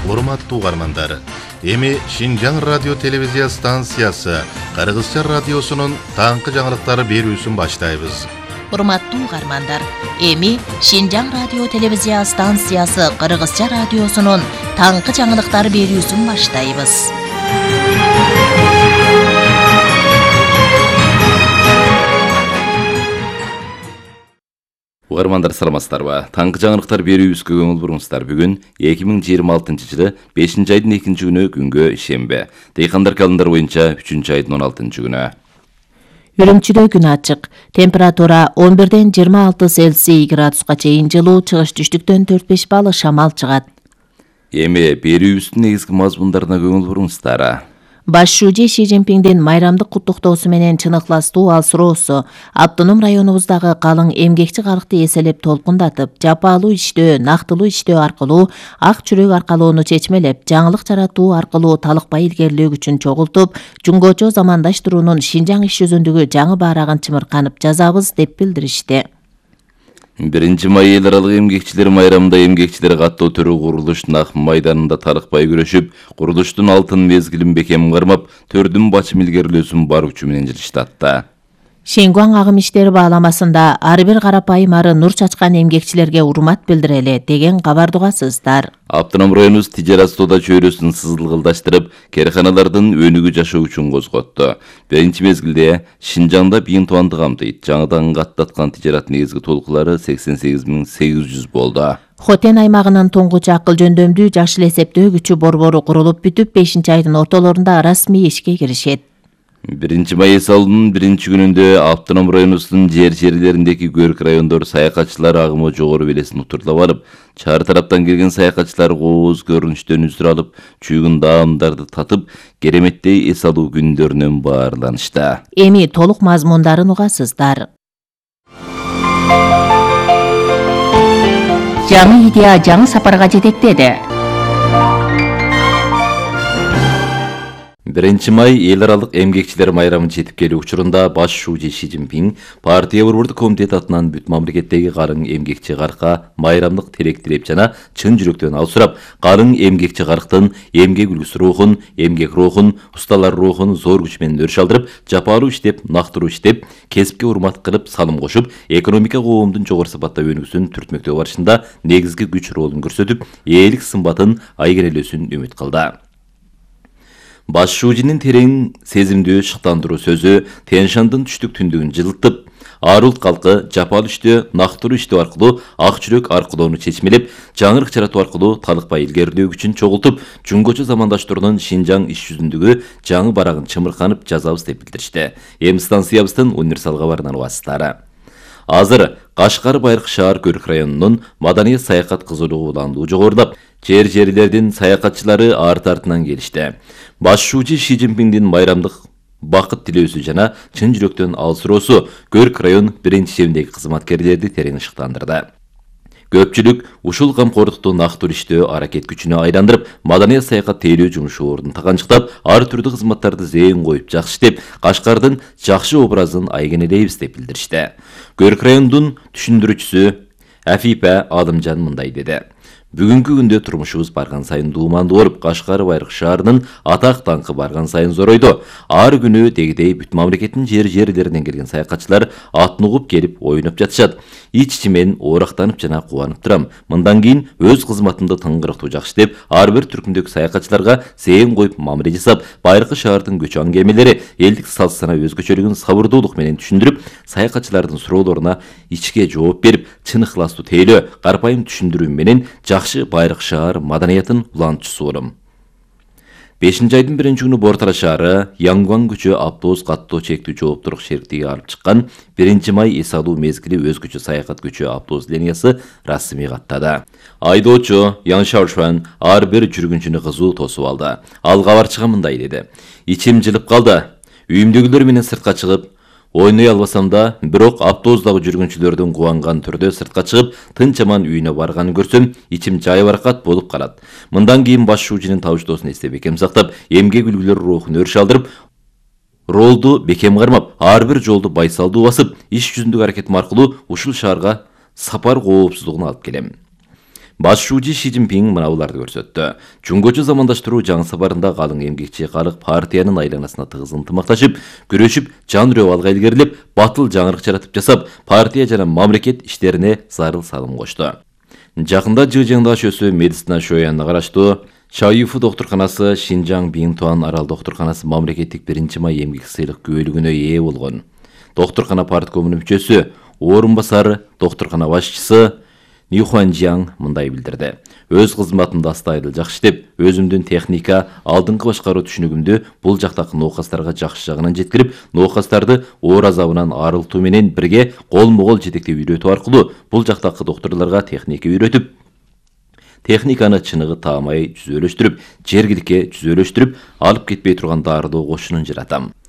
Урматтуу угармандар, эми Шинжаң радио телевизия станциясы Кыргызча радиосунун таңкы жаңылыктары берүүсүн баштайбыз. Урматтуу угармандар, эми Шинжаң радио телевизия станциясы Кыргызча радиосунун таңкы жаңылыктары берүүсүн баштайбыз. Угармандар саламатсыздарбы? Таңкы жаңылыктар берүүбүзгө көңүл буруңуздар. Бүгүн 2026-жылы 5-айдын 2-күнү күнгө ишембе. Дейкандар календар боюнча 3-айдын 16-күнү. Үрүмчүдө күн ачык. Температура 11-ден 26 Цельсий градуска чейин жылуу, чыгыш түштүктөн 4-5 балл шамал чыгат. Эми берүүбүздүн негизги мазмундарына көңүл буруңуздар. Баш шүүжи Ши Цзиньпиндин майрамдык куттуктоосу менен чыныктуу алсыроосу автоном районубуздагы калың эмгекчи калкты эселеп толкундатып, жапаалуу иштөө, нактылуу иштөө аркылуу ак чүрөк аркалоону чечмелеп, жаңылык жаратуу аркылуу талыкпай илгерилөө күчүн чогултуп, жумгочо замандаштыруунун Шинжаң иш жүзүндөгү жаңы баарагын чымырканып жазабыз деп билдиришти. 1-май эл аралык эмгекчилер майрамында эмгекчилер каттоо төрү курулуштун ак майданында талыкпай күрөшүп, курулуштун алтын мезгилин бекем кармап, төрдүн бачым илгерилөөсүн бар күчү менен жылыштатты. Шенгуаң агым иштери бааламасында ар бир карапайым ары нур чачкан эмгекчилерге урмат билдирели деген кабарды угасыздар. Автоном районубуз тижарат соода чөйрөсүн сызылгылдаштырып, керканалардын өнүгүү жашоо үчүн козготту. Биринчи мезгилде Шинжаңда бийин тубанды камтыйт. Жаңыдан каттаткан тижарат негизги толкулары 88.800 болду. Хотен аймагынын туңгуч акыл жөндөмдүү жашыл эсептөө күчү борбору курулуп бүтүп, 5-айдын ортолорунда расмий ишке киришет. 1-май эсалуунун 1-күнүндө автоном районубуздун жерлериндеги көрк райондор саякатчылар агымы жогору белесин утурлап алып, чаар тараптан келген саякатчылар кооз көрүнүштөн үзүр алып, чүйгүн даамдарды татып, кереметтей эс алуу күндөрүнөн баарланышты. Эми толук мазмундарын угасыздар. Жаңы идея жаңы сапарга жетектеди. 1-май эл аралык эмгекчилер майрамын жетип келүү учурунда баш шүүжи Ши Цзиньпин партия борбордук комитет атынан бүт мамлекеттеги карың эмгекчи каркка майрамдык тилек тилеп жана чын жүрөктөн ал сурап, карың эмгекчи карктын эмгек үлгүсү рухун, эмгек рухун, усталар рухун зор күч менен өрүш алдырып, жапаалуу иштеп, нактыруу иштеп, кесипке урмат кылып, салым кошуп, экономика коомдун жогору сапатта өнүгүүсүн түртмөктөө барышында негизги күч ролун көрсөтүп, ээлик сымбатын айгерелөөсүн үмүт кылды. Баш шүүжинин терең сезимдүү шыктандыруу сөзү Тянь-Шандын түштүк түндүгүн жылытып, ар улут калкы жапаалуу иштөө, нактыруу иштөө аркылуу ак чүрөк аркылоону чечмелеп, жаңырык жаратуу аркылуу талыкпай илгерилөө күчүн чогултуп, жумгочу замандаштыруунун Шинжаң иш жүзүндөгү жаңы барагын чымырканып жазабыз деп билдиришти. Эми станциябыздын универсал кабарынан угасыздар. Азыр Кашкар Байыркы шаар көрк районунун маданият саякат кызуулугу уландуу жогорулап, жерлердин саякатчылары арты-артынан келишти. Баш шүүжи Ши Цзиньпиндин майрамдык бакыт тилөөсү жана чын жүрөктөн алсыроосу көрк район биринчи шебиндеги кызматкерлерди терең шыктандырды. Көпчүлүк ушул камкордукту нактуу иштөө аракет күчүнө айландырып, маданият саякат тейлөө жумушу ордун таганчыктап, ар түрдүү кызматтарды зээн коюп жакшы иштеп, Кашкардын жакшы образын айгенелейбиз деп билдиришти. Көрк районунун түшүндүрүүчүсү Афипа Адымжан мындай деди. Бүгүнкү күндө турмушубуз барган сайын дуумандуу болуп, Кашкар Байыркы шаарынын атак даңкы барган сайын зоройду. Ар күнү дегидей бүт мамлекеттин жерлеринен келген саякатчылар атын угуп келип ойноп жатышат. Ич-ичимен оорактанып жана кубанып турам. Мындан кийин өз кызматымды тыңгырыктуу жакшы деп, ар бир түркүмдөгү саякатчыларга зээн коюп мамиле жасап, Байыркы шаардын көчө аңгемелери, элдик салт сана өзгөчөлүгүн сабырдуулук менен түшүндүрүп, саякатчылардын суроолоруна ичке жооп берип, чын ыхластуу тейлөө, карпайым түшүндүрүү менен жакшы Байыркы шаар маданиятын улантуучусу болом. 5-айдын 1-күнү Бортара шаары Янгван көчө автобус каттоо чектүү жооптуулук шериктиги алып чыккан 1-май эс алуу мезгили өзгөчө саякат көчө автобус линиясы расмий каттады. Айдоочу Ян Шаошуан ар бир жүргүнчүнү кызуу тосуп алды. Ал кабарчыга мындай деди. Ичим жылып калды. Үйүмдөгүлөр менен сыртка чыгып, ойной албасам да, бирок автобустагы жүргүнчүлөрдүн кубанган түрдө сыртка чыгып, тынч аман үйүнө барганын көрсөм, ичим жайбаракат болуп калат. Мындан кийин баш шүүжинин табыштоосун эстеп бекем сактап, эмгек үлгүлөр рухун өрүш алдырып, ролду бекем кармап, ар бир жолду байсалдуу басып, иш жүзүндөгү аракетим аркылуу ушул шаарга сапар коопсуздугун алып келем. Баш шуучу Ши Цзиньпин мына буларды көрсөттү. Жуңгочу замандаштыруу жаңы сапарында калың эмгекчи карык партиянын айланасына тыгыз ынтымакташып, күрөшүп, жан үрөп алга илгерилеп, батыл жаңырык жаратып жасап, партия жана мамлекет иштерине зарыл салым кошту. Жакында Жыжыңда шөсү медицина шоянына караштуу Шаюфу доктурканасы Шинжаң Биңтуан арал доктурканасы мамлекеттик 1-май эмгек сыйлык күбөлүгүнө ээ болгон. Доктуркана парткомунун мүчөсү, орун басары, доктуркана башчысы Нью Хуанжиаң мындай билдирди. Өз кызматымды астайдыл жакшы иштеп, өзүмдүн техника, алдыңкы башкаруу түшүнүгүмдү бул жактагы ноокастарга жакшы жагынан жеткирип, ноокастарды оор азабынан арылтуу менен бирге колмо-кол жетектеп үйрөтүү аркылуу бул жактагы докторлорго техника үйрөтүп, техниканы чыныгы таамай жүзөлөштүрүп, жергиликке жүзөлөштүрүп, алып кетпей турган дарылоо кошунун жаратам.